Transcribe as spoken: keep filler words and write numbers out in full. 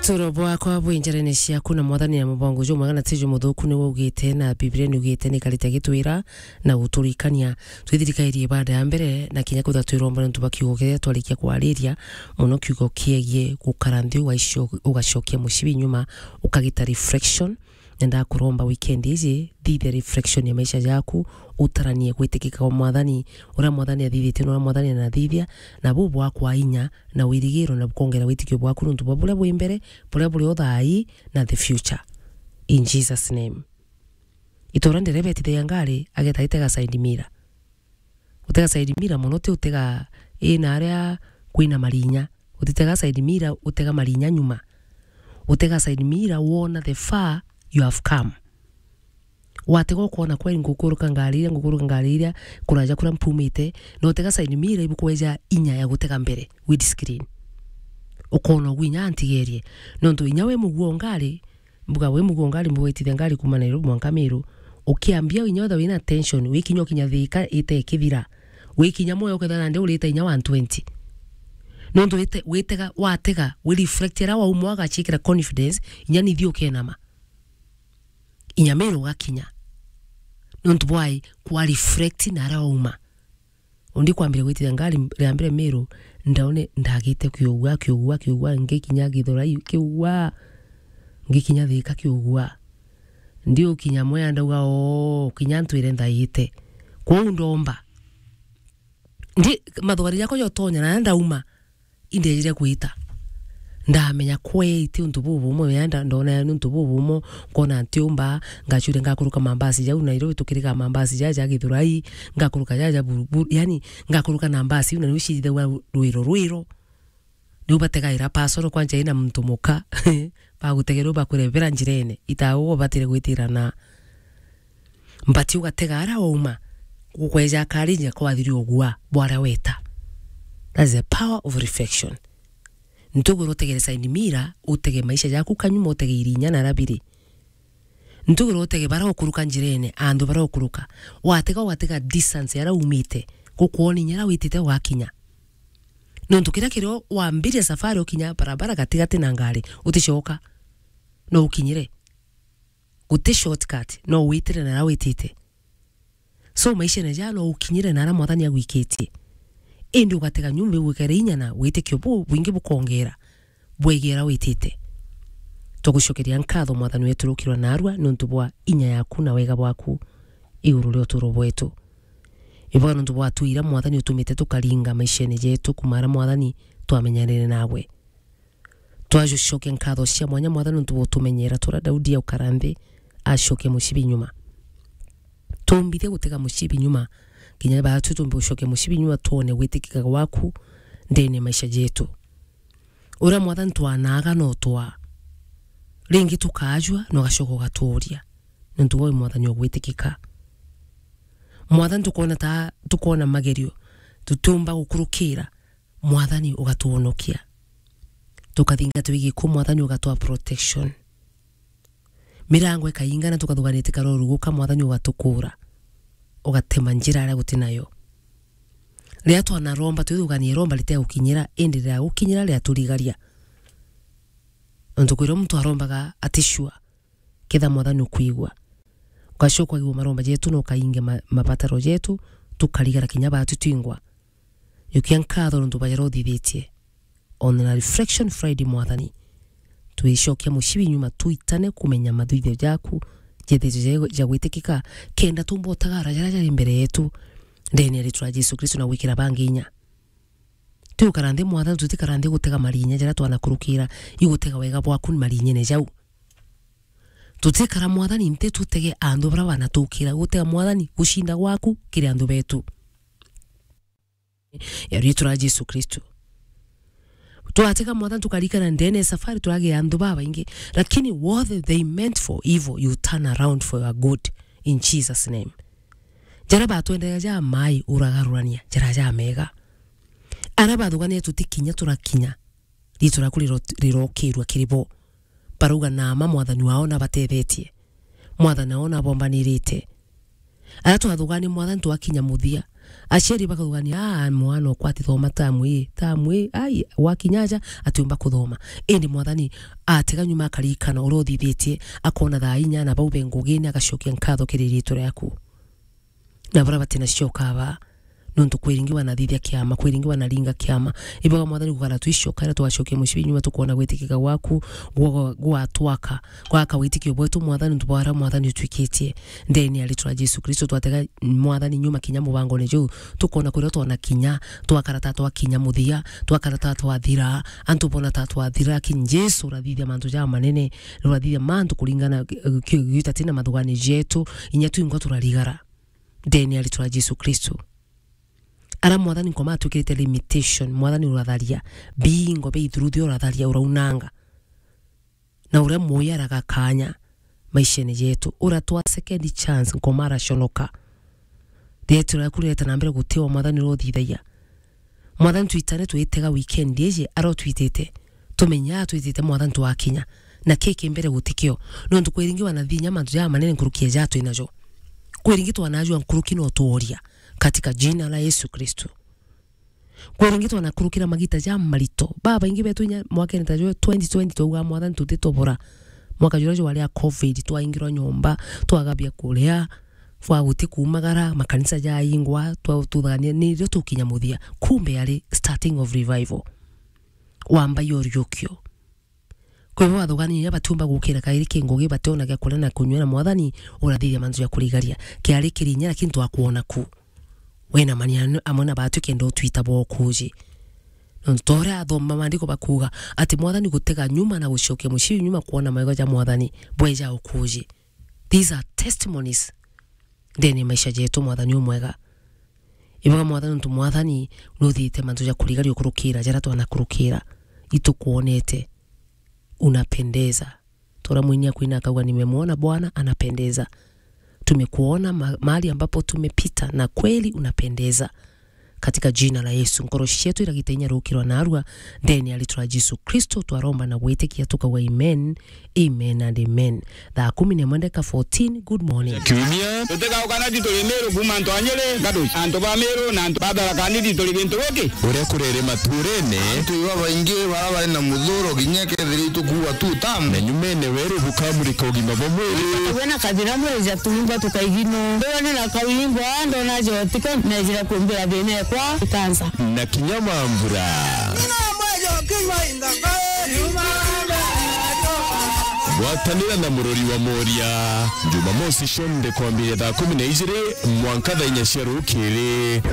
Uturo bwakwa bwi njarene ciaku, na Mwathani na mubango jumwega na ti jumuthuku, niwe ugite, na Biblia ni ugite, ni karite gitwira na guturikania. Twithirikairie ibada ya mbere, na kinya kwithirwa twiromba niuntu bwa kiugo kiria twarikia kwariria, muno kiugo kiegie gukara nthi, ugaicio-, ugacokia mucibi nyuma, ukagita reflection. Nenda kuromba weekend iji, thithia reflection ya maisha jaku, utaranie gwitikika kwa Mwathani, uria Mwathani athithitie na uria Mwathani anathithia, na buu bwakwa inya na wirigiro, na bukongera witikio bwaku niuntu bwa buria bwi mbere, buria buri o thaa ii, na the future. In Jesus' name. Itura ndereba etithagia ngari, ageta itega side mirror. Utega side mirror mono, ti utega ina aria kwina marinya. Utitega side mirror, utega marinya nyuma. Utega side mirror, wona the far you have come. Watega ukona kweri ngukuruka ngari iria, ngukuruka ngari iria, kuraja kuria mpumite, na utega side mirror ibukweja inya ya gutega mbere, windscreen. Ukona ugu inya antigerie. Nontu inya wi muguo ngari, mbuga wi muguo ngari, mbuga itithia ngari kuma Nairobi mwanka Meru, ukiambia inya wetha wina tension, wikinya ukinya Thika ite ikithira. Wikinya moyo ukethira nandi urite inya one twenty. Nontu wite-, witega, watega, wi reflect aria wauma, wagachikira confidence, inya nithi ukenama. Inya Meru ugakinya. Nontu bwai, kwa reflect na aria wauma. Undi kwambire gwitithia ngari ria mbere Meru, ndaone ndagite kiugua, kiugua, kiugua, ngikinya Githurai, kiugua, ngikinya Thika, kiugua. Ndiukinya Mwea, ndauga, "Oo, kinya ntwire ndaite." Kwou ndomba. Ndi, mathugari jakwa jotonya na ndauma. Indejire gwita. Ndamenya kwei ti untu bubumwe, ya nda-, ndona yani untu bubumwe, nkona ntiumba, ngacuria ngakuruka mambasi jau Nairobi, tukiriga mambasi jaja ja Githurai, ngakuruka jaja Buruburu, yani, ngakuruka na mbasi iu, na niu ciithithagua rwiro rwiro. Niu bategaira pasoro kwanja ina muntu muka, bagutegerwa bakurebera njirene, itagwo batire gwitirana. Mbati ugatega aria wauma, gukweja akarinja kwathiri ugua bwaria weta. That's the power of reflection. Ntugura utegere side mirror, utege maisha jaku kanyuma, utege irinya na rabiri. Ntugura utege bara ukuruka njirene, andu bara ukuruka. Watega, ugatega distance aria umite, gukwona inya aria witite ugakinya. Nontu kiria kirio wambiria safari ukinya barabara gatigati na ngari, uticoka. No ukinyire. Guti shortcut, no witire na aria witite. So, maishene jaa no ukinyire na aria Mwathani agwikitie. Indi ugatega nyumba igwikere inya na witikio bu-, bwingi bukongera bwegera witite. Tugucokeria nkatho Mwathani wetu rukirwa narua niuntu bwa inya yaku na wega bwaku iguru ria uturo bwetu. Ibwega niuntu bwa tui iria Mwathani utumite tukaringa maishene jetu kuma aria Mwathani twamenyanire nawe. Twacokia nkatho cia mwanya Mwathani niuntu bwa utumenyera turia Daudi aukara nthi acokia mucibi nyuma. Tumbithia gutega mucibi nyuma, kinya baatu tumbe gucokia mucibi nyuma, twone gwitikika gwaku ndene ya maisha jetu. Uria Mwathani twanaaga no twaa. Ringi tukaajua, na ugacoka ugatuuria. Niuntu we wi Mwathani ugwitikika. Mwathani tukoona ta, tukoona magerio, tutiumba gukurukira, Mwathani ugatwonokia. Tukathingatwa i giku, Mwathani ugatwaa protection. Mirango ikaingana, tukathuganite karoruguka, Mwathani ugatukura. Ugatema njira aria guti nayo. Riria twanaromba, twithuganie iromba ritegukinyira, indi riria gukinyira, riria turigaria. Nontu kwirwa muntu arombaga aticua. Ketha Mwathani ukwigua. Ugacoka ukaigua maromba jetu na ukainge ma-, mabataro jetu, tukarigara kinya baatu twingwa. Jukia nkatho nontu bwa jaria uthithitie. On a reflection Friday, Mwathani, twicokia mucibi nyuma, twitane kumenya mathithio jaku, jethithio ja, ja gwitikika, kenda tuumba utagara jaria jari mbere yetu, ndene ya ritwa ria Jesu Kristo na gwikira bangi inya. Tuikara nthi, Mwathani, tutikara nthi gutega marinya jaria twanakurukira, igutega wega bwaku marinyene jau. Tutikara, Mwathani, nthi tutege andu baria banatukira, gutega, Mwathani, gucinda gwaku kiri andu betu. Ya ritwa ria Jesu Kristo. Twatega, Mwathani, tukarikana ndene ya safari, turagia andu babaingi, lakini what they meant for evil, you turn around for your good, in Jesus' name. Jaria batwendera ja mai, uragarurania jaria ja mega. Aria bathuganire tutikinya, turakinya, riitwa riaku riro-, rirokirua kiri bo. Barauga, "Naama Mwathani wao nabatethetie. Mwathani wao nabombanirite." Aria twathugani, Mwathani, twakinya muthia, Aciari bakaugania, "Ah, mwana okwa atithoma tamu ii, tamu ii, ai, wakinya aja, atiumba kuthoma." Indi Mwathani atega nyuma akaririkana uria uthithitie, akona thaa inya na bau be ngugine, agacokia nkatho kiri riitwa riaku. Na baria batina cio ukaba, nontu kwi ringi wanathithia kiama, kwi ringi wanaringa kiama. Ibaga Mwathani gukara twicoka, ira twacokia mucibi nyuma, tukwona gwitikika gwaku gwa-, gwatwaka, gwaka witikio bwetu, Mwathani, nontu bwa aria, Mwathani, utwikitie. Ndeni ya ritwa ria Jesu Kristo, twatega, Mwathani, nyuma kinya mubangone juu, tukwona kuria twona kinya, twakara ta twakinya muthia, twakara ta twathira, antu bona ta twathira, lakini Jesu urathithia mantu jamanene, urathithia mantu kuringana, eh, ki-, gitatina mathugani jetu, inya twingwa turarigara. Ndeni ya ritwa ria Jesu Kristo. Ara Mwathani nkoma atwikirite limitation, Mwathani uratharia, bingo bia ithuruthio uratharia, uraunanga. Na uria muoyo araga kanya maishene jetu, uratwa second chance, nkoma araconoka. Rietwa riaku rireta na mbere gutiwa, Mwathani, uria uthithagia. Mwathani, twitane twitega weekend iji, ara utwitite, tumenye ara twitite, Mwathani, twakinya. Na kiki mbere gutikio, nontu kwi ringi wanathithia mantu jamanene nkuruki ya ja twinajo. Kwi ringi twanajua nkuruki no tuoria, katika jina la Yesu Kristo. Kwi ringi twanakurukira magita jamarito. Babaingi betu inya mwakene ta jwe twenty twenty twauga, "Mwathani, tutitobora." Mwaka juria jwari a covid, twaingirwa nyomba, twaga bia kuria, bwa guti kuumagara, makanisa jaingwa, twa-, tuthania, nirio tukinya muthia. Kumbe yari starting of revival. Wamba ya uriukio. Kwi bo bathugania inya batiumba gukira kairi ki ngugi, bationa gia kuria na kunyua, na Mwathani urathithia mantu ja kurigaria. Kiari kiri inya, lakini twakwona ku. Wina mania amwe na batu kenda utwita bwa ukuji. Nontu ta uria athoma maandiko bakuuga, ati Mwathani gutega nyuma na gucokia mucii nyuma kwona mawega ja Mwathani bweja ukuji. These are testimonies ndene ya maisha jetu, Mwathani umwega. Ibaga Mwathani, nontu Mwathani nuthithite mantu ja kurigaria ukurukira jaria twanakurukira. Itukwonete, unapendeza. Tora mwini akwina akauga, "Nimemwona Bwana, anapendeza." Tumekuona ma-, mahali ambapo tumepita, na kweli unapendeza. Katika jina la Yesu, nkoro cietu iragita inya rukirwa narua, ndene ya ritwa ria Jesu Kristo, twaromba na gwitikia tukauga, amen, amen and amen. Thaa kumi na imwe ndeka fourteen, good morning. Kiumia. Tutigauka na tituri Miru kuuma antu a Nyeri, Gaduci. Antu ba Miru na antu ba Tharaka Nithi turi gintu giki. Uria kurere maturene. Antu iba baingi bara bari na muthuro, kinya kethira itukuua tu tamu. Na nyumene weru bukamurika ugima bwa mwiri. Wena kathira mwiri ja tuumba tukaigino. Ndona na kauingwa, ndona jotiko, nejira kumbira thina ekwa ikansa. Na kinya mambura. Gwatanira na murori wa Moria. Jumamosi cionthe kwambiria thaa kumi na ijiri mwanka thaa inya cia rukiri.